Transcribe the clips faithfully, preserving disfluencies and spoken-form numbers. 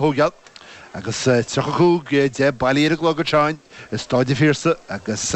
Thógáil agus tríocha cúig deich bailí ar an gclog anseo i Staid an Phiarsaigh agus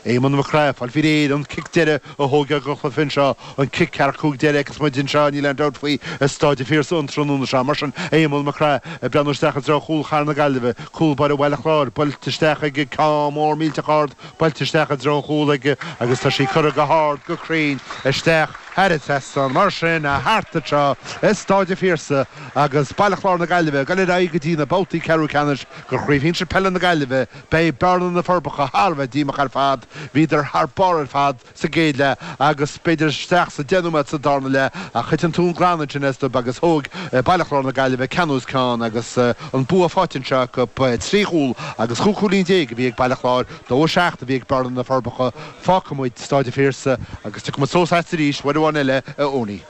Éamonn Mac Craith ag fáil faoi réir an cic deiridh a thógáil don chluiche anseo, an cic ceathracha cúig deiridh agus muid anseo, níl aon dabht faoi, i Staid an Phiarsaigh an tráthnóna seo. Mar sin, Éamonn Mac Craith ag breathnú isteach i dtreo chúl chathair na Gaillimhe, cúl báire Bhaile Chláir, buailte isteach aige, ceann mór millteach ard buailte isteach i dtreo an chúil aige agus tá sí curtha go hard, go cruinn isteach thar an trasnán. Mar sin, thart anseo i Staid an Phiarsaigh agus Baile Chláir na Gaillimhe ag dul ar aghaidh go dtí na babhtaí ceathrú ceannais de Chraobh Shinsir Peile na Gaillimhe, beidh Bearna-Na Forbacha thar a bheith díomách ar fad. Bhíodar thar barr ar fad sa gcéad leath agus b'fhéidir isteach sa deich nóiméad sa darna leath ach thit an tóin glan ansin astu agus thóg Baile Chláir na Gaillimhe ceann os cionn agus an bua faighte anseo acu, trí chúl agus chúig chúilín déag a bhí ag Baile Chláir, dó a seacht a bhí ag Bearna-Na Forbacha. Fágfaidh muid Staid an Phiarsaigh agus tiocfaidh muid suas agat arís uair amháin eile, a Owenie.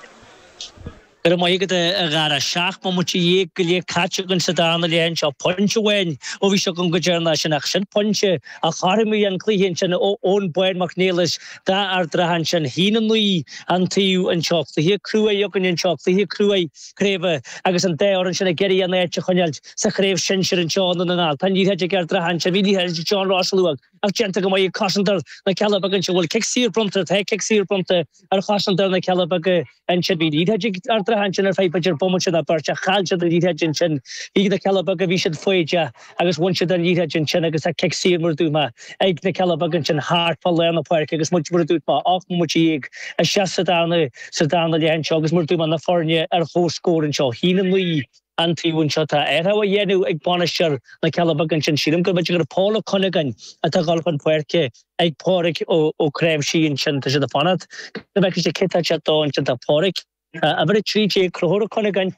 Go raibh maith agat a Dhara. Seacht mbomaite dhéag go leith caite againn sa darna leath anseo. Pointe amháin ó bhí seo agam go deireanach sin ach sin pointe a chothromaigh an cluiche ansin ó Eoin Bán Mac Niallais d'Ard an Rátha ansin. Haon a naoi an taobh anseo. Cluiche cruaidh againn anseo, cluiche cruaidh craoibhe agus an dá fhoireann sin ag iarraidh a n-áit a choinneáilt sa chraobh shinsir anseo i nDún na nGall. Tá an liathróid ag Ard an Rátha ansin. Bhí liathróid ag John Ross luath ach déanta go maith ag cosantóir na Cealla Beaga anseo. Bhfuil cic saor bronnta? Tá cic saor bronnta ar chosantóir na Cealla Beaga ansin. Bhí liathróid ag Ard an Rátha ansin ar feadh b'fhéidir bomaite nó beirt ach chaill siad an liathróid ansin. Bhí na Cealla Beaga, bhí siad foighdeach agus bhain siad an liathróid ansin agus tá cic saor mar a dúirt mé ag na Cealla Beaga ansin thart fá lár na páirce agus muid mar a dúirt mé ocht mbomaite dhéag isteach sa darna sa darna leath anseo agus mar a dúirt mé na foirne ar comhscór anseo. Haon a naoi an taobh anseo. Tá athrú á dhéanamh ag bainisteoir na Cealla Beaga ansin. Sílim go mb'fhéidir gur Paul Ó Cuinneagáin atá ag dul chun páirce ag Pádraig Ó Cnáimhsí ansin. Tá siad ag fanacht go bhfeicfidh siad cé tá ag teacht dó ansin. Tá Pádraig, uimhir a trí déag, Conchúr Ó Cuinneagáin,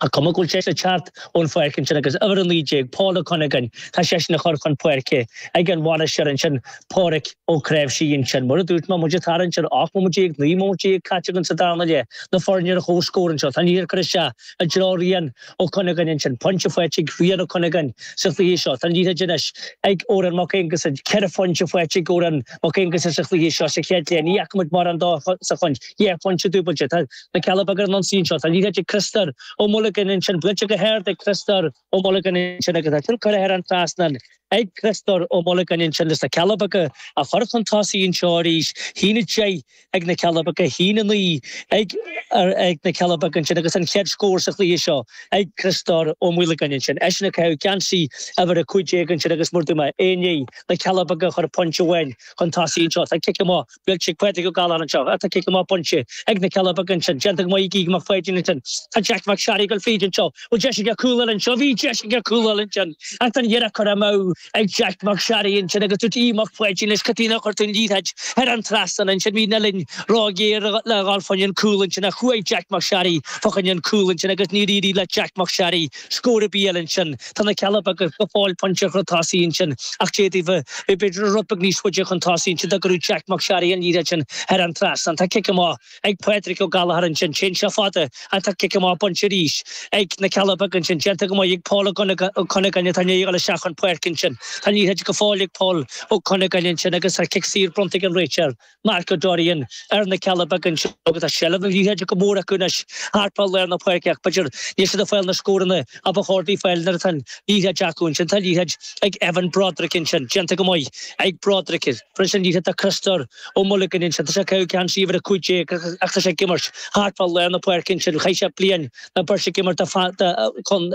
an cuma go bhfuil sé ag teacht ón pháirc ansin agus uimhir a naoi déag, Paul Ó Cuinneagáin, tá seisean á chur chun páirce ag an bhainisteoir ansin, Pádraig Ó Cnáimhsí ansin. Mar a dúirt mé, muid ag tarraingt ar ocht mbomaite déag, naoi mbomaite déag caite againn sa darna leath, na foirne ar comhscór anseo. Tá an liathróid curtha isteach i dtreo Rian Ó Cuinneagáin ansin. Pointe faighte ag Rian Ó Cuinneagáin sa chluiche seo. Tá an liathróid anois ag Odhrán Mac Aonghusa. Ceithre phointe faighte ag Odhrán Mac Aonghusa sa chluiche seo sa chéad leath. Ní fhaca muid mórán dó sa chaint. Dhá phointe dúbailte. Tá na Cealla Beaga ar an ionsaí anseo. Tá an liathróid ag Criostóir Ó Muilleagáin ansin. Buailte go hard ag Criostóir Ó Muilleagáin ansin agus tá sin curtha thar an trasnán ag Criostóir Ó Muilleagáin ansin leis na Cealla Beaga a chur chun tosaigh anseo arís. Haon a deich ag na Cealla Beaga, haon a naoi ag ag na Cealla Beaga ansin agus an chéad scór sa chluiche seo ag Criostóir Ó Muilleagáin ansin. Eisean ag caitheamh geansaí uimhir a cúig déag ansin agus mar a dúirt mé, é i ndiaidh na Cealla Beaga a chur pointe amháin chun tosaigh anseo. Tá cic amach buailte ag Pádraig Ó Gallchóir anseo. Tá cic amach bainte ag na Cealla Beaga ansin. Déanta go maith ag Aodh Mac Pháidín ansin. Tá Jack Mac Searraigh ag dul fríd anseo. Bhfuil deis aige cúl a fháil anseo? Bhí deis aige cúl a fháil ansin ach tá an iarracht curtha amú ag Jack Mac Searraigh ansin agus dúirt Aodh Mac Pháidín leis cad chuige nár chuir tú an liathróid thar an trasnán ansin. Bhí an uillinn róghéar le dhul fá choinne an cúl ansin ach chuaigh Jack Mac Searraigh fá choinne an cúl ansin agus níor éirigh le Jack Mac Searraigh scór ar bith a fháil ansin. Tá na Cealla Beaga go fóill pointe chun tosaigh ansin ach d'fhéadfaí bheith b'fhéidir rud beag níos faide chun tosaigh ansin dá gcuireadh Jack Mac Searraigh an liathróid sin thar an trasnán. Tá cic amach ag Pádraig Ó Gallchóir ansin. Téann sé fada ach tá cic amach bainte arís ag na Cealla Beaga ansin. Déanta go maith ag Paul Ó Cuinneagáin atá i ndiaidh a dhul isteach chun páirce ansin. Tá an liathróid go fóill ag Paul Ó Cuinneagáin ansin agus tá cic saor bronnta ag an réiteoir Mark Ó Dorrian ar na Cealla Beaga anseo agus tá seilbh na liathróide go mór acu anois thart fá lár na páirce ach b'fhéidir níl siad ag fáil na scóranna a ba chóir dóibh fáil nuair atá an liathróid acu ansin. Tá liathróid ag Evan Broderick ansin, déanta go maith ag Broderick. Fuair an liathróid do Criostóir Ó Muilleagáin ansin. Tá sé ag caitheamh geansaí uimhir a cúig déag ach tá sé ag imirt thart fá lár na páirce ansin. Chaith sé bliain nó beirt ag imirt chun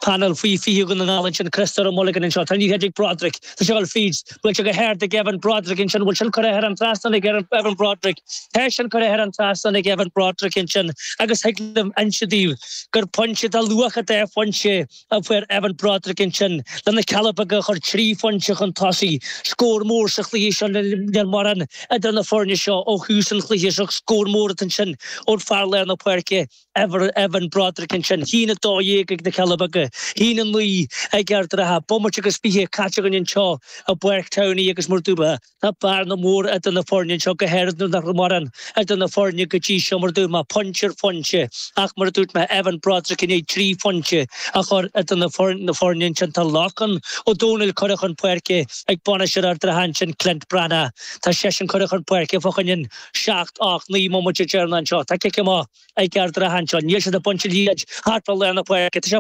panel faoi fiche Dhún na nGall ansin. Criostóir Ó Muilleagáin anseo. Tá an liathróid ag Broderick. Tá sé ag dul fríd. Buailte go hard ag Evan Broderick ansin. Bhfuil sin curtha thar an trasnán ag Evan Broderick. Tá sin curtha thar an trasnán ag Evan Broderick ansin agus thig liom inse daoibh gur pointe de luach an dá phointe a fuair Evan Broderick ansin le na Cealla Beaga a chur trí phointe chun tosaigh. Scór mór sa chluiche seo níl mórán idir na foirne seo ó thús an chluiche seo. Scór mór ansin ón fear lár na páirce Evan Broderick ansin. Haon a dó dhéag ag na Cealla Beaga. Beaga. Haon a naoi ag Ard an Rátha. Bomaite agus fiche caite againn anseo i bPáirc Towney agus mar dúirt mé, tá bearna mór idir na foirne anseo go háirithe nuair nach raibh mórán idir na foirne go dtí seo mar dúirt mé, pointe ar phointe ach mar a dúirt mé Evan Broderick i ndiaidh trí phointe a chur idir na foirne ansin. Tá Lorcán Ó Dónaill curtha chun páirce ag bainisteoir Ard an Rátha ansin Clint Breathnach. Tá seisean curtha chun páirce fá choinne seacht, ocht, naoi mbomaite deireanach anseo. Tá cic amach ag Ard an Rátha anseo. Níl siad ag baint an liathróid thart fá lár na páirce. Tá sé